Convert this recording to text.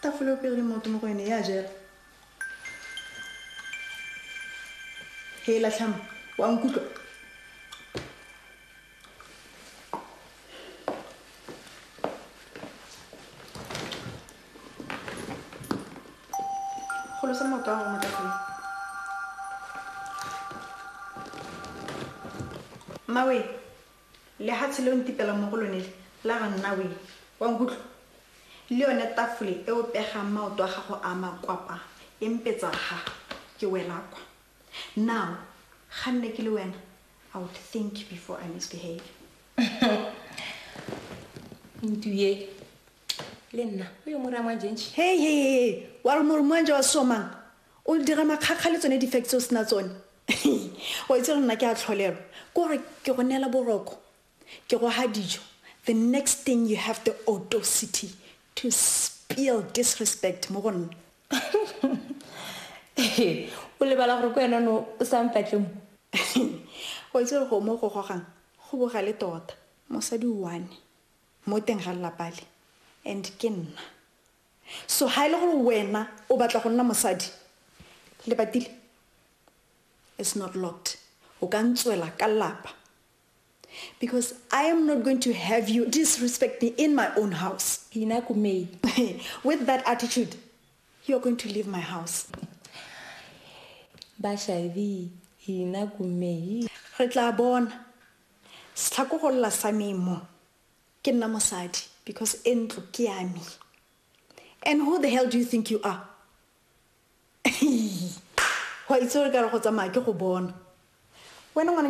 Tafole o pegile maoto mo go ene ya jela. He latlhama, wa nkutlwa? Golosa maoto a gago mo tafoleng. Mmawe, lehatshe le o ntipelang mo go lone le, la ga nna we. Wa nkutlwa? Le yone tafole e o pegang maoto a gago a makwapa e mpetsa ga ke wela kwa. Now, ga nne ke le wena, I would think before I misbehave. Ntuye, le nna o yo morang wa jentšhe. Hey, hey, hey, wa re more moanje wa somang? O dira makgakga le tsone di-facts tse o sena tsone. Wa itse gore nna ke a tlholelwa. Ke gore ke go neela boroko, ke go ha dijo. The next thing you have the audacity to spill disrespect mo go nna. O lebala gore ke wena no o sa mpatle mo. Wa itse gore go mo go gogang go bogale tota. Mosadi one mo teng ga lelapa le and ke nna. So ha e le gore wena o batla go nna mosadi, lebatile it's not locked. O ka ntswela ka lelapa. Because I am not going to have you disrespect me in my own house. Ina kumei. With that attitude, you are going to leave my house. Bashavi, ina kumei. Re tla bona. Setlhako go lla sa me mo. Ke nna mosadi because e ntlo ke ya me. And who the hell do you think you are? Wa itse gore ka re go tsamaya ke go bona. Wena ngwana